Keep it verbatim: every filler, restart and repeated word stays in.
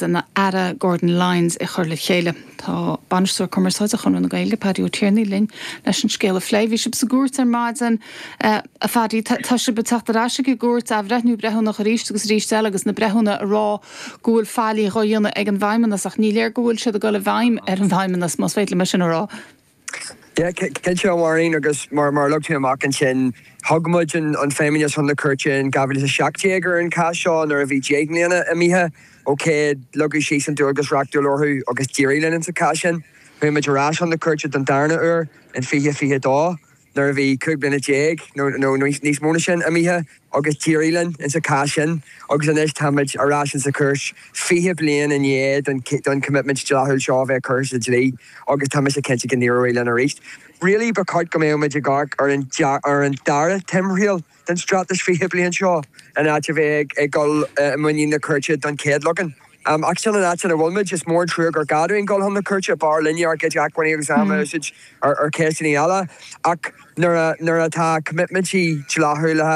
agus an Aire Gordon Lyons ag cur le chéile. Tá bainisteoir cumarsáide Chonradh na Gaeilge Paddy Ó Tiarnaigh linn leis an scéal a phlé. Bhí sibh sa gcúirt ar maidin uh, a Phaddy tá sibh ag teacht ar ais ag an gcúirt athbhreithniú breithiúnach arís agus arís eile agus na breithiúna ag rá go bhfuil faillí á dhéanamh ag an bhFeidhmeannas ach ní léir go bhfuil siad ag dul i bhfeidhm ar an bhFeidhmeannas más féidir liom sin a rá. Cinnte Máirín agus mar mar luaigh tú amach ansin thug muid an an Feidhmeannas chun na cúirte in dhá mhíle seacht déag ar an cás seo nuair a bhí deich mbliana imithe ó céad leagadh síos an dualgas reachtúil orthu agus d'éirigh linn sa chás sin. Chuaigh muid ar ais chun na cúirte don darna huair in fiche fiche dó nuair a bhí cúig bliana déag nó níos mó ná sin imithe agus d'éirigh linn in sa chás sin agus anois táimid ar ais in sa chúirt fiche bliain i ndiaidh don commitment dlíthiúil seo bheith curtha sa dlí agus tá mise cinnte go n-éireoidh linn arís. Really ba cheart go mbeadh muid ag amharc ar an ar an dara timthriall den straitéis fiche bliain seo in áit a bheith ag dul i muinín na cúirte don chéad leagan. Um, ach sin an áit ina bhfuilmuid is mór trua gur gá dúinn dul chun na cúirte b'fhearr linne ár gcuid acmhainní agus ama a úsáid ar ar ceisteanna eile ach nuair atá commitmentí dlíthiúla